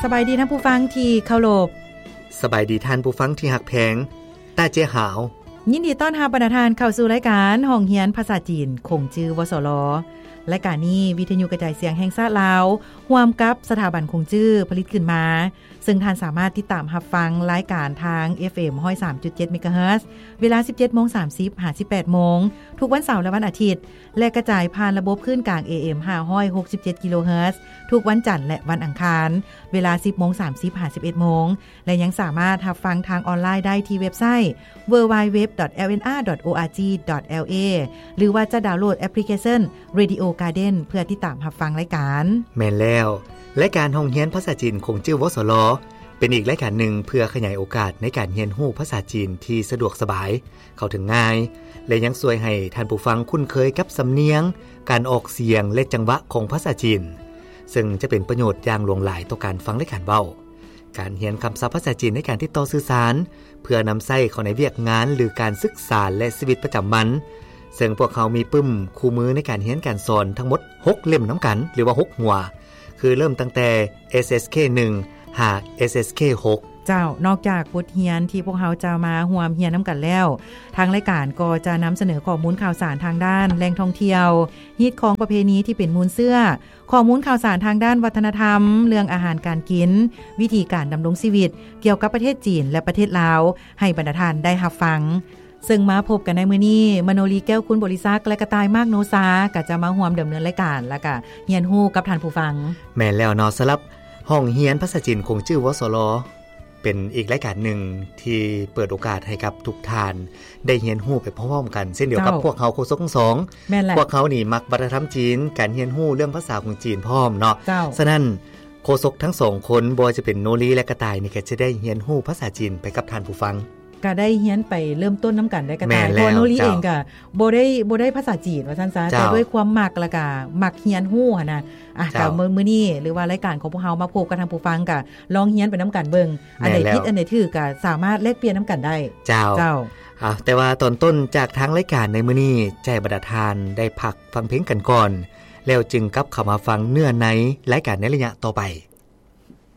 ສະບາຍດີທ່ານຜູ້ຟັງທີ່ເຄົາລົບ. ສະບາຍດີທ່ານຜູ້ຟັງທີ່ຮັກແພງ. ຕາເຈຫາວ ຍິນດີຕ້ອນຮັບບັນດາທ່ານເຂົ້າສູ່ລາຍການຫ້ອງຮຽນພາສາຈີນ ຂົງຈື່ ວສລ. ລາຍການນີ້ ວິທະຍຸກະຈາຍສຽງແຫ່ງຊາດລາວ ຮ່ວມກັບສະຖາບັນຂົງຈື່ ຜະລິດຂຶ້ນມາ, ເຊິ່ງທ່ານສາມາດຕິດຕາມຮັບຟັງລາຍການທາງ ເອັຟເອັມ ຮ້ອຍສາມຈຸດເຈັດ ເມກາເຮີດ ເວລາ ສິບເຈັດໂມງສາມສິບ ຫາ ສິບແປດໂມງ ທຸກວັນເສົາ ແລະ ວັນອາທິດ ແລະ ກະຈາຍຜ່ານລະບົບຄື້ນກາງ ເອເອັມ ຫ້າຮ້ອຍຫົກສິບເຈັດ ກິໂລເຮີດ ທຸກວັນຈັນ ແລະ ວັນອັງຄານ ເວລາ ສິບໂມງສາມສິບ ຫາ ສິບເອັດໂມງ ແລະ ຍັງສາມາດຮັບຟັງທາງອອນລາຍໄດ້ທີ່ເວັບໄຊ www.lnr.org.la ຫຼືວ່າຈະດາວໂຫຼດແອັບພລິເຄຊັນ Radio Garden ເພື່ອຕິດຕາມຮັບຟັງລາຍການ. ແມ່ນແລ້ວ, ລາຍການຫ້ອງຮຽນພາສາຈີນ ຂົງຈື່ ວສລ ເປັນອີກລາຍການໜຶ່ງເພື່ອຂະຫຍາຍໂອກາດໃນການຮຽນຮູ້ພາສາຈີນທີ່ສະດວກສະບາຍ, ເຂົ້າເຖິງງ່າຍ ແລະ ຍັງຊ່ວຍໃຫ້ທ່ານຜູ້ຟັງຄຸ້ນເຄີຍກັບສຳນຽງ, ການອອກສຽງ ແລະ ຈັງຫວະຂອງພາສາຈີນ, ເຊິ່ງຈະເປັນປະໂຫຍດຢ່າງຫຼວງຫຼາຍຕໍ່ການຟັງ ແລະ ການເວົ້າ. ການຮຽນຄຳສັບພາສາຈີນໃນການຕິດຕໍ່ສື່ສານ ເພື່ອນຳໃຊ້ເຂົ້າໃນວຽກງານ ຫຼື ການສຶກສາ ແລະ ຊີວິດປະຈຳວັນ, ເຊິ່ງພວກເຮົາມີປຶ້ມຄູ່ມືໃນການຮຽນການສອນທັງໝົດຫົກເຫຼັ້ມນຳກັນ ຫຼືວ່າຫົກຫົວ, ຄືເລີ່ມຕັ້ງແຕ່ ເອສເອສເຄ ໜຶ່ງ ຫາ ເອສເອສເຄ ຫົກ. ເຈົ້າ, ນອກຈາກບົດຮຽນທີ່ພວກເຮົາຈະມາຮ່ວມຮຽນນຳກັນແລ້ວ, ທາງລາຍການກໍຈະນຳສະເໜີຂໍ້ມູນຂ່າວສານທາງດ້ານແຫຼ່ງທ່ອງທ່ຽວ, ຮີດຄອງປະເພນີທີ່ເປັນມູນເຊື້ອ, ຂໍ້ມູນຂ່າວສານທາງດ້ານວັດທະນະທຳ, ເລື່ອງອາຫານການກິນ, ວິທີການດຳລົງຊີວິດກ່ຽວກັບປະເທດຈີນ ແລະ ປະເທດລາວ ໃຫ້ບັນດາທ່ານໄດ້ຮັບຟັງ. ເຊິ່ງມາພົບກັນໃນມື້ນີ້, ມະໂນລີ ແກ້ວຄຸນບໍລິສັກ ແລະ ກະຕ່າຍ ມາກໂນຊາ ກໍຈະມາຮ່ວມດຳເນີນລາຍການ ແລ້ວກະຮຽນຮູ້ກັບທ່ານຜູ້ຟັງ. ແມ່ນແລ້ວເນາະ, ສຳລັບຫ້ອງຮຽນພາສາຈີນ ຂົງຈື່ ວສລ ເປັນອີກລາຍການໜຶ່ງທີ່ເປີດໂອກາດໃຫ້ກັບທຸກທ່ານໄດ້ຮຽນຮູ້ໄປພ້ອມໆກັນ ເຊັ່ນດຽວກັບ ເຈົ້າ ພວກເຮົາໂຄສົກທັງສອງ. ແມ່ນແຫຼະ. ພວກເຮົານີ້ມັກວັດທະນະທຳຈີນ, ການຮຽນຮູ້ເລື່ອງພາສາຂອງຈີນພ້ອມເນາະ. ເຈົ້າ. ສະນັ້ນ ໂຄສົກທັງສອງຄົນ, ບໍ່ວ່າຈະເປັນໂນລີ ແລະ ກະຕ່າຍນີ້ ກໍຈະໄດ້ຮຽນຮູ້ພາສາຈີນໄປກັບທ່ານຜູ້ຟັງ. ກໍໄດ້ຮຽນໄປເລີ່ມຕົ້ນນຳກັນໄດ້ ກະຕ່າຍ. ແມ່ນແລ້ວ. ເພາະວ່າໂນລີ ເຈົ້າ ເອງກໍບໍ່ໄດ້ ບໍ່ໄດ້ພາສາຈີນວ່າຊັ້ນຊະ, ເຈົ້າ ແຕ່ດ້ວຍຄວາມມັກ ແລ້ວກໍມັກຮຽນຮູ້ຫັ້ນນະ. ອ່ະ ເຈົ້າ ກໍມື້ ມື້ນີ້ ຫຼືວ່າລາຍການຂອງພວກເຮົາມາພົບກັບທ່ານຜູ້ຟັງ ກໍລອງຮຽນໄປນຳກັນເບິ່ງ. ແມ່ນແລ້ວ. ອັນໃດຜິດ ອັນໃດຖືກ ກໍສາມາດແລກປ່ຽນນຳກັນໄດ້. ເຈົ້າ. ເຈົ້າ. ອ່ະ ແຕ່ວ່າຕອນຕົ້ນຈາກທາງລາຍການໃນມື້ນີ້ ຈະໃຫ້ບັນດາທ່ານໄດ້ພັກຟັງເພງກັນກ່ອນ, ແລ້ວຈຶ່ງກັບເຂົ້າມາຟັງເນື້ອໃນລາຍການໃນໄລຍະຕໍ່ໄປ.